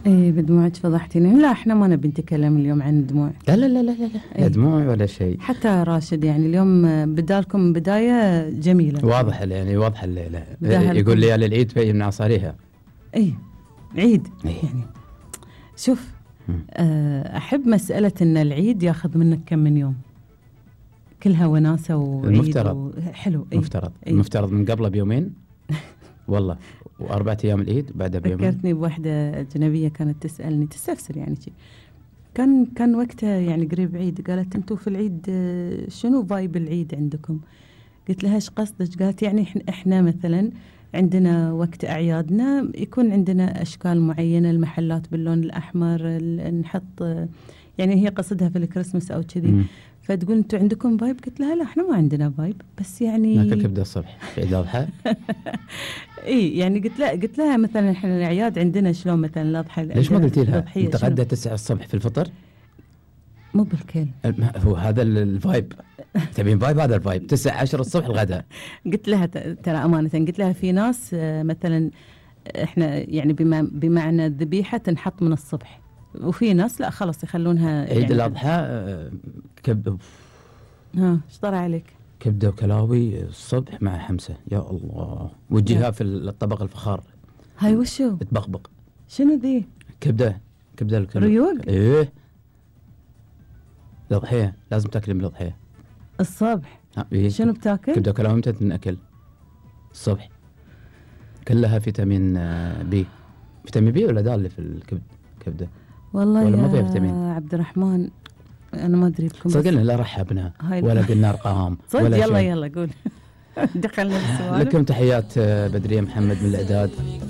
ايه بدموعك فضحتيني. لا احنا ما نبي نتكلم اليوم عن الدموع. لا لا لا لا لا, لا دموع ولا شيء. حتى راشد يعني اليوم بدالكم بداية جميلة. واضح يعني واضح يقول لي على العيد في من عصاريها. ايه عيد يعني شوف احب مسألة ان العيد ياخذ منك كم من يوم، كلها وناسة وعيد المفترض حلو. المفترض من قبله بيومين والله، و4 أيام العيد بعدها بيومين. ذكرتني بواحدة أجنبية كانت تسألني تستفسر يعني شيء، كان وقتها يعني قريب عيد، قالت انتوا في العيد شنو فايب العيد عندكم؟ قلت لها ايش قصدك؟ قالت يعني احنا مثلا عندنا وقت أعيادنا يكون عندنا أشكال معينة، المحلات باللون الأحمر، نحط يعني هي قصدها في الكريسماس أو كذي. فتقول انتوا عندكم فايب؟ قلت لها لا احنا ما عندنا فايب، بس يعني ناكل كبده الصبح في عيد الاضحى. اي يعني قلت لها مثلا احنا الاعياد عندنا شلون مثلا الاضحى. ليش ما قلتي لها نتغدى 9 الصبح في الفطر؟ مو بالكل هو هذا الفايب. تبين فايب؟ هذا الفايب 9-10 الصبح الغداء. قلت لها ترى امانه، قلت لها في ناس مثلا احنا يعني بمعنى الذبيحه تنحط من الصبح، وفي ناس لا خلاص يخلونها عيد يعني الاضحى كبده. ايش طرى عليك؟ كبده وكلاوي الصبح مع حمسه، يا الله، وتجيها في الطبق الفخار. هاي وشو تبقبق؟ شنو ذي؟ كبده ريوق. ايه الأضحية لازم تاكل من الأضحية الصبح. إيه؟ شنو بتاكل؟ كبده وكلاوي متى تنأكل؟ الصبح. كلها فيتامين بي. فيتامين بي ولا دال اللي في الكبده؟ والله ولا ما فيها يا فيتامين؟ عبد الرحمن انا ما ادري بكم، صدقنا لا رحبنا ولا قلنا ارقام ولا يلا قول. دخلنا بالسؤال. لكم تحيات بدرية محمد من الإعداد.